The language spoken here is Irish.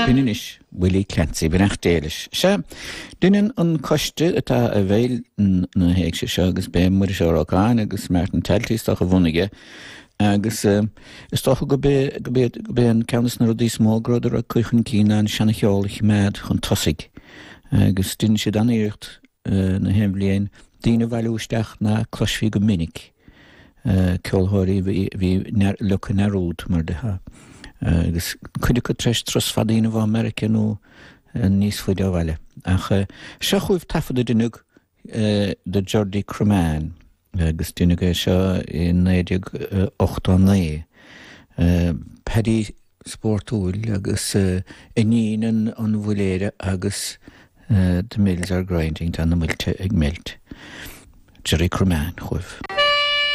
B'in anois Willie Clancy, beannacht Dé leis. Sea, deineann an coiste atá i bhfeighil na héigse seo agus b'é Muiris Ó Rocháin agus Martin Talty is dócha a bhunaigh é agus is dócha go b'é go b'é go b'é an ceann de na rudaí is mó go rabhadar ag cur chun cinn ná an seana-cheol a chimeád chun tosaigh agus deineann siad an-iarracht na haon bhliain daoine a bhailiú isteach ná cloisfí go minic, ceolthóirí a bhí leagtha i ndearúd, mar déarfá, agus cuid acu tar éis turas fada a dhéanamh ó Meiriceá nó níos faide ó bhaile. Ach seo chugaibh taifead a deineadh de Gerdy Cromaine agus deineadh é seo i 1989. Paddy spórtúil agus iníon an mhuiléara agus The Mills Are Grinding, tá na muilte ag meilt. Gerry Cromaine chugaibh.